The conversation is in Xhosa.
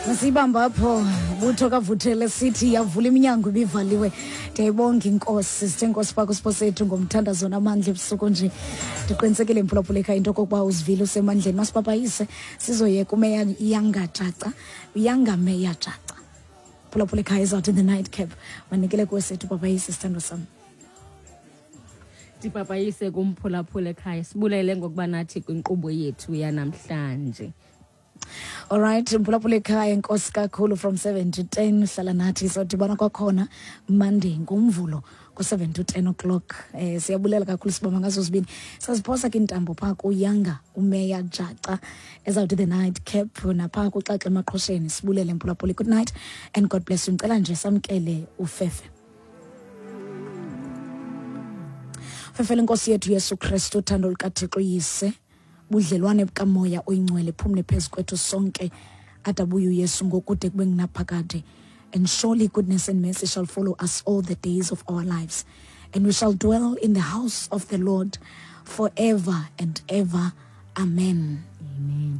Masibamba apho butho kavuthele sithi yavula iminyango ibivaliwe. Ndiyayibonga inkosi, sithe inkosi pha kwisipho sethu ngomthandazo namandla ebusuku nje. Ndiqinisekile mphulaphula ekhaya into okokuba uzivile usemandleni. Masipapayise sizoyeka umeya Yanga Jaca, Yanga Meya Jaca. Phulaphula ekhaya is out in the night cap. Manikele kuwe sethu papayise sithandwa sam. Ndipapayise kumphulaphula ekhaya, sibulele ngokuba nathi kwinkqubo yethu yanamhlanje. Alright, mphulaphula ekhaya, enkosi kakhulu from 7 to 10 hlala nathi, sodibana kwakhona Monday ngomvulo ku-7 to 10 o'clock. Siyabulela kakhulu sibamba ngazo zibini. Saziphosa ke intambo phaa kuyanga umeya Jaca ezawuthi the night cap naphaa kuxaxa emaqhosheni. Sibulele mphulaphuli. Good night and God bless you. Ngicela nje samkele ufefe. Fefele inkosi yethu Yesu Kristu, uthando lukaThixo Yise, budlelwane bukamoya oyingcwele phumle phezu kwethu sonke adabuye uYesu ngokude kube ngunaphakade. And surely goodness and mercy shall follow us all the days of our lives, and we shall dwell in the house of the Lord forever and ever. Amen. Amen.